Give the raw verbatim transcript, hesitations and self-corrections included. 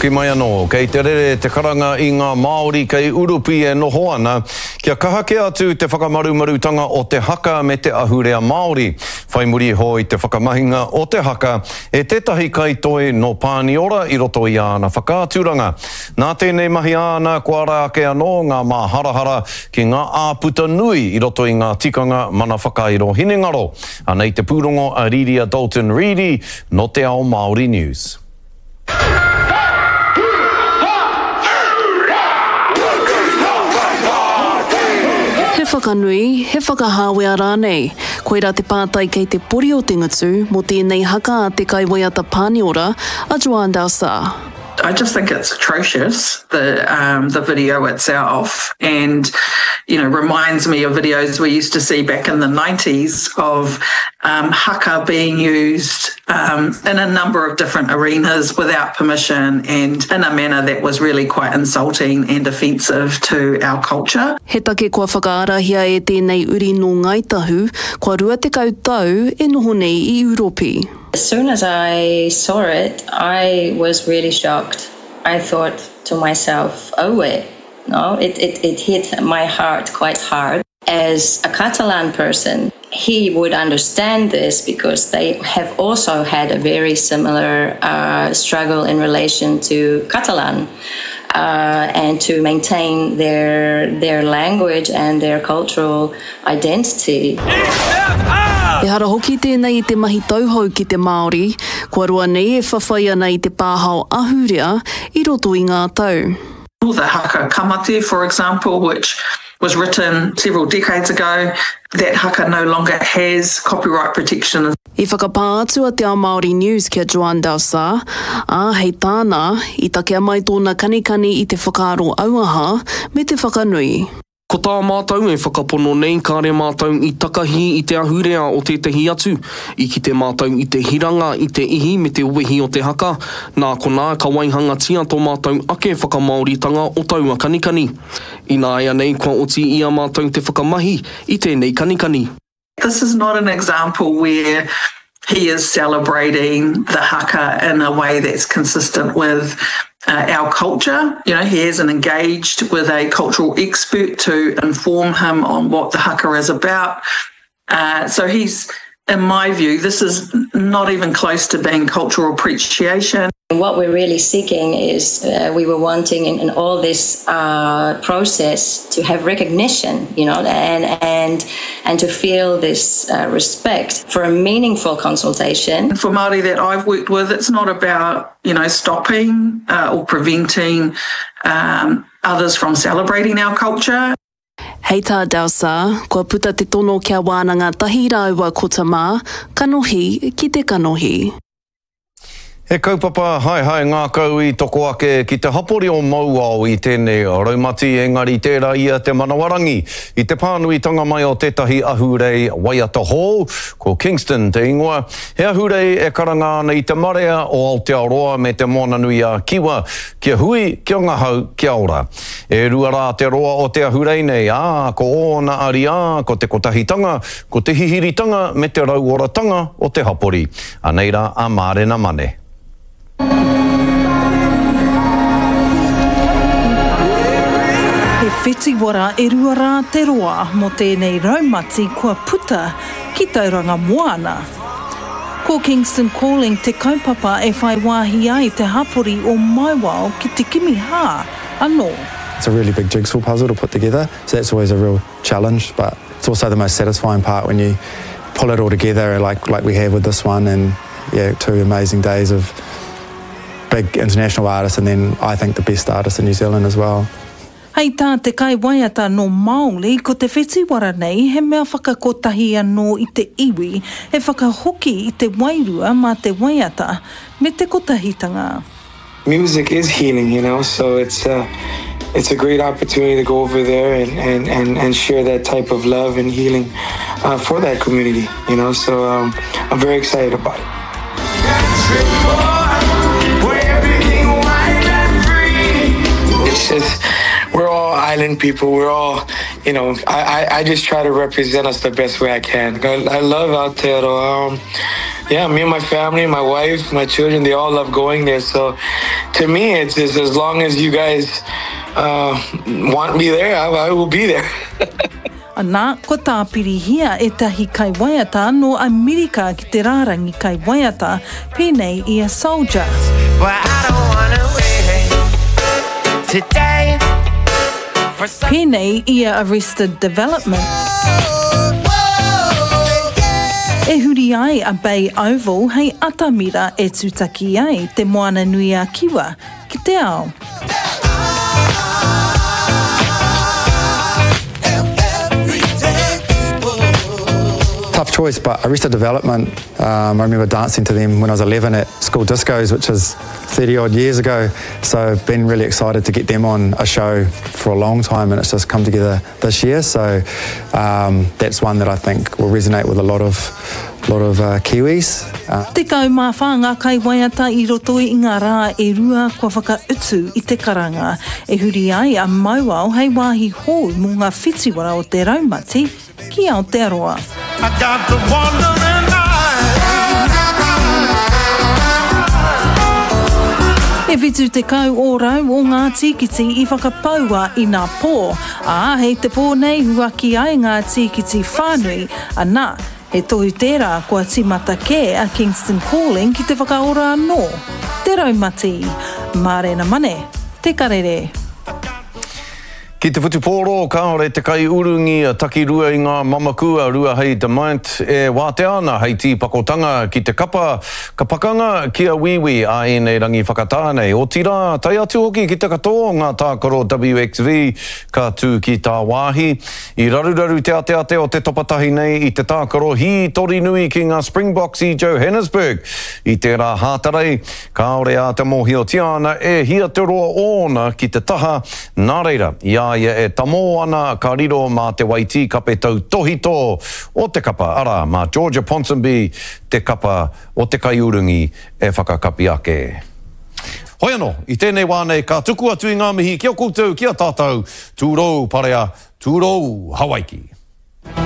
Hoki mai anō, kei te rere te karanga i ngā Māori kei Urupi e noho ana, kia kaha kē atu te whakamarumarutanga o te haka me te ahurea Māori. Whai muri iho i te whakamahinga o te haka e tētahi kaitoi nō Pāniora i roto i āna whakaaturanga. Nā tēnei mahi āna kua ara ake anō ngā māharahara ki ngā āputa nui i roto i ngā tikanga mana whakairo hinengaro. Anei te pūrongo a Riria Dalton Reedy nō Te Ao Māori News. He whakanui, he whakahāwea rānei. Koirā te pātai kei te pori o te ngutu mō tēnei haka a te kaiwaiata Pāniora, a Joan Dausà. I just think it's atrocious, the, um, the video itself, and, you know, reminds me of videos we used to see back in the nineties of um, haka being used um, in a number of different arenas without permission and in a manner that was really quite insulting and offensive to our culture. He take kua whakaarahia e tēnei uri nō Ngāi Tahu, kua rua tekau tau e noho nei i Uropi. As soon as I saw it, I was really shocked. I thought to myself, oh wait, no, it, it, it hit my heart quite hard. As a Catalan person, he would understand this because they have also had a very similar uh, struggle in relation to Catalan uh, and to maintain their, their language and their cultural identity. Ehara hoki tēnei i te mahi tauhou ki te Māori, kua roa nei e whawhai ana i te pāhao ahurea i roto i ngā tau. The haka Kamate, for example, which was written several decades ago, that haka no longer has copyright protection. I whakapā atu a Te Ao Māori News ki a Joan Dausà, ā, hei tāna, i takea mai tōna kanikani i te whakaaro auaha me te whakanui. Ko tā mātou e whakapono nei kāre mātou i takahi i te ahurea o tētahi atu, i kite mātou i te hiranga, i te ihi me te wehi o te haka, nā konā ka waihangatia tō mātou ake whakamāoritanga o taua kanikani. Ināianei kua oti i a mātou te whakamahi i tēnei kanikani. This is not an example where he is celebrating the haka in a way that's consistent with uh, our culture. You know, he hasn't engaged with a cultural expert to inform him on what the haka is about. Uh, so he's, in my view, this is not even close to being cultural appreciation. What we're really seeking is uh, we were wanting in, in all this uh, process to have recognition, you know, and and and to feel this uh, respect for a meaningful consultation. For Māori that I've worked with, it's not about, you know, stopping uh, or preventing um, others from celebrating our culture. Hei tā Dausà, kua puta te tono kia wānanga tahi rāua ko Tamā, kanohi ki te kanohi. He kaupapa haehae ngākau i toko ake ki te hapori o Mauao i tēnei raumati, engari tērā ia te manawarangi. I te pānuitanga mai o tētahi ahurei waiata hou, ko Kingston te ingoa, he ahurei e karanga ana i te marea o Aotearoa me te Moananui a Kiwa, kia hui, kia ngahau, kia ora. E rua rā te roa o te ahurei nei, ā, ko ōna ariā, ko te kotahitanga, ko te hihiritanga me te rauoratanga o te hapori. Anei rā a Mārena Mane. He whitiwara e rua rā te roa mō tēnei raumati kua puta ki Tauranga Moana. Ko Kingston Calling te kaupapa e whai wāhi ai te hapori o Mauao ki te kimi hā anō. It's a really big jigsaw puzzle to put together, so that's always a real challenge, but it's also the most satisfying part when you pull it all together like, like we have with this one, and yeah, two amazing days of big international artists and then I think the best artists in New Zealand as well. Hei tā te kai waiata no Māori, ko te whitiwara nei he mea whakakotahi anō i te iwi, he whakahoki i te wairua mā te waiata me te kotahitanga. Music is healing, you know, so it's, uh, it's a great opportunity to go over there and, and, and, and share that type of love and healing uh, for that community, you know, so um, I'm very excited about it. It's just, we're all island people. We're all, you know, I, I, I just try to represent us the best way I can. I, I love Aotearoa. Um, yeah, me and my family, my wife, my children, they all love going there. So to me, it's just as long as you guys uh, want me there, I, I will be there. Ana, ko tāpirihia ētahi kaiwaiata nō Amerika ki te rārangi kaiwaiata, pēnei i a Soldier. Well, I don't wanna wait today for some Pēnei i a Arrested Development. E huri ai a Bay Oval hei atamira e tūtaki ai te Moana Nui a Kiwa ki te ao. Tough choice, but Arrested Development, um, I remember dancing to them when I was eleven at school discos, which is thirty odd years ago. So I've been really excited to get them on a show for a long time, and it's just come together this year. So, um, that's one that I think will resonate with a lot of, lot of, uh, Kiwis. Uh, Tekau mā whā ngā kaiwaiata i roto i ngā rā e rua kua whakautu i te karanga. E huri ai a Mauao hei wāhi hou mō ngā whitiwara o te raumati ki Aotearoa. I got the wandering eye. E whitu tekau ōrau o ngā tīkiti i whakapaua i nā pō. Ā, hei te pō nei huaki ai ngā tīkiti whānui, ana, he tohu tērā kua tīmata kē a Kingston Calling ki te whakaora anō. Te raumati. Mārena Mane, Te Karere. Ki te whutupōro, kāore te kaiurungi a takirua i ngā mamaku a Ruahei Demant e wātea ana hei tīpakotanga ki te kapa, ka pakanga ki a Wīwī a ēnei rangi whakatā nei. Otirā, tae atu hoki ki te katoa o ngā tākaro W X V ka tū ki tāwāhi. I raruraru te ateate o te topatahi nei i te tākaro hītori nui ki ngā Springboks i Johannesburg. I tērā hātarei, kāore a te mōhiotia ana e hia te roa ōna ki te taha, nā reira, i a ia e tamō ana ka riro mā te Waitī kape tautohito o te kapa, arā, mā Georgia Ponsonby te kapa o te kaiurungi e whakakapi ake. Hoi anō, i tēnei wā nei ka tuku atu i ngā mihi ki a koutou, ki a tātou, tūrou parea, tūrou Hawaiki.